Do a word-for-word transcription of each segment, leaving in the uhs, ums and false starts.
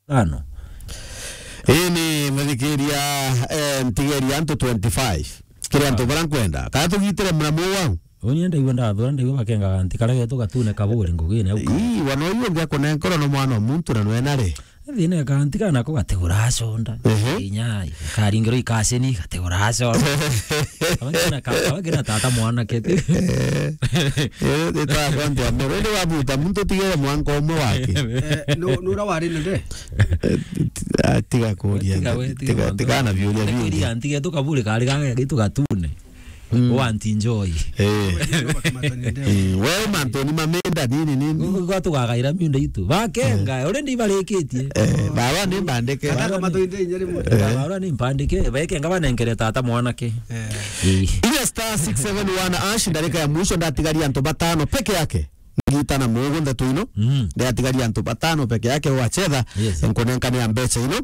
tano. Ii ni muthikiria, eh, ntigeria antu twenty-five. Kiri antu bara nkwenda. Kana tugitire muramu wau? Uni ndaigua ndathura, ndaigua bakengaga nti kara getu gatune kaburi ngugine au. Ii, wana uyu ungi akunenkora no mwana wa muntu na nwena ri? Thina kanti kana ko gatigura aconda. Ehe. Inya, karingiro ikacini, gatigura aconda. Abakina ka-, abakina tata mwanake ti. Eh, eh, ita konti ya mbere. Ri wabuta muntu tigere mwanka umwe wake. Eh, no, nura wari na nde? Eh, tiga kuria, tiga we, tiga tiga, mwanka tiga na umwe. Biuria bingi. Kuria ntige tu kaburi kari gaga gitu gatune. Mm. Wa anti Joy. Eh. Mm, we mantu ni mamenda nini nini. Gu-, gu-, gu-, tugagaira miunda itu. Bakenga, eh, already barikitie. Eh, barua ni mbandike. Kana kama tuinde inya rimwe. Eh. Barua ni mbandike, bekenga banenkere tata mwanake. Eh. Eh. Inya star six seven one hash, ndarika ya mwisho ndatigaria antu batano peke yake. Ngita na mugu ndeto ino. Mm. Ndatigaria antu batano peke yake wachetha. Yes. Nkunenkane ya mbecha ino.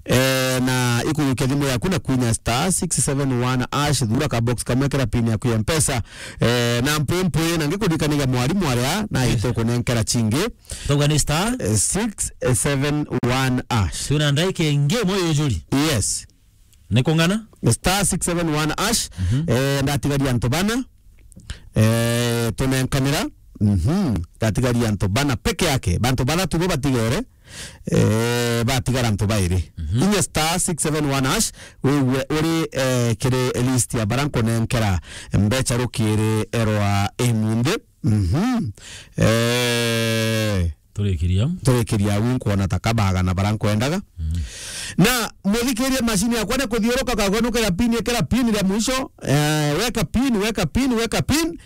Eh, na ikujukia thimu yaku na kwinya star six seven one hash, thura ka box kamwe kera pin yaku ya Mpesa. Eh, na mpwi mpwi, na ngikuririkanagia mwarimu aria, na ito kunenkera chingi. Tauga ni star? Eh, six seven one hash. Twina ndaika ingi imwe yujuri. Yes. Ni kung'ana? Star six seven one hash. Mhm. Eh, ndatigaria antu bana. Eh, tunenkanira. Mhm. Ndatigaria antu bana peke yake. Bantu bathatu bo batigere. Eh, batigara antu bairi. Mhm. Inya star six seven one hash, wigue uri, eh, kiri list ya bara nkunenkera mbecha rukiri rwa imunthi. Mhm. Eh, turikiria. Turikiria au nkwona ta kabaga na bara nkwendaga. Mhm. Na muthikirie mashini yakwa ni kuthiuruka kagwe nukira pin, ikira pin ria mwisho. Eh, weka pin, weka pin, weka pin.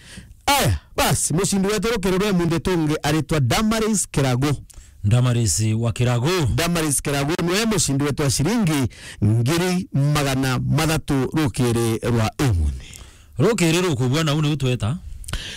Aya, basi, mucindi wetu rukiri rwa imunthi tungi aritwa Damaris Kiragu. Damaris wa Kiragu. Damaris Kiragu niwe mucindi wetu wa ciringi ngiri magana mathatu rukiri rwa imunthi. Rukiri rukubua nau niu tweta.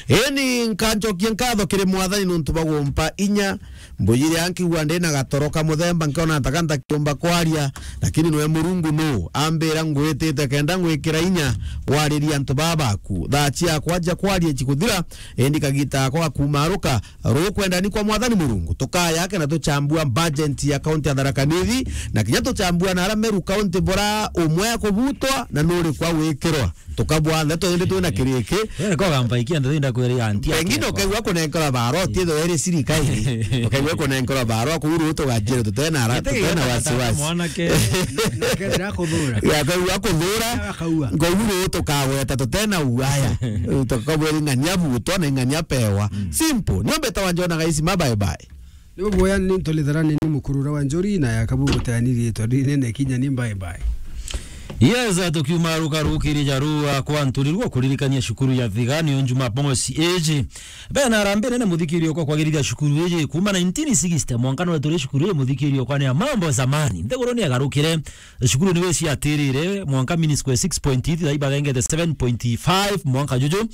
Eni nkancokia nkatho kiri Mwathani nontu bwa gumpa inya. Mbujire ankigua ndi na gatoro ka muthemba, nkiona ntaka ntakiumba kwaria, lakini nwe Murungu nu ambira ngwitite kenda ngwikira inya waririe antu baa baku. Thaa ciakwa cia kwaria cikuthira, indi kagita gakwa gakumaruka. Rukwenda ni kwa Mwathani Murungu, tukaya ake na tuchambua budget ya kaunti ya Tharaka Nithi, na kinya tuchambua na ara Meru kaunti bora umwe akubutwa na nuri kwa gwikirwa. Tukabua ndeto indi twina kiriki. Wewe kwa gamba ikia ndeto inda kwere ya anti. Pengine ukaigua kunenkora baro, ti tho eri sirikali. Ukaigua kunenkora baro, kuru tugajira tutena ara, tutena wasiwasi. Mwanake. Nakethira kuthura. Ya kaigua kuthura. Akaua. Nguru tukagweta tutena uaya. Tukabweri ng'ania butwa na ng'ania pewa. Mm. Simple. Nio beta wanje ona gaisi ma bye bye. Ni buboya ni ntolithera ni, ni mukurura wa njuri na ya kabu guteanirie tondu inene kinya ni bye bye. Yes, tukiuma ruka rukiri ja rua kwa nturirwa kuririkania cukuru ya Thigani o Jumamosi iji. Bena arambe nene muthikirio kwa kwagirithia cukuru iji kuma nineteen sixty mwanka no turi cukuru iji muthikirio kwa ni ya mambo zamani. Nthiguru ni agarukire. Cukuru ni wesi atirire mwanka mean square six point eight, thai bagengete seven point five mwanka juju.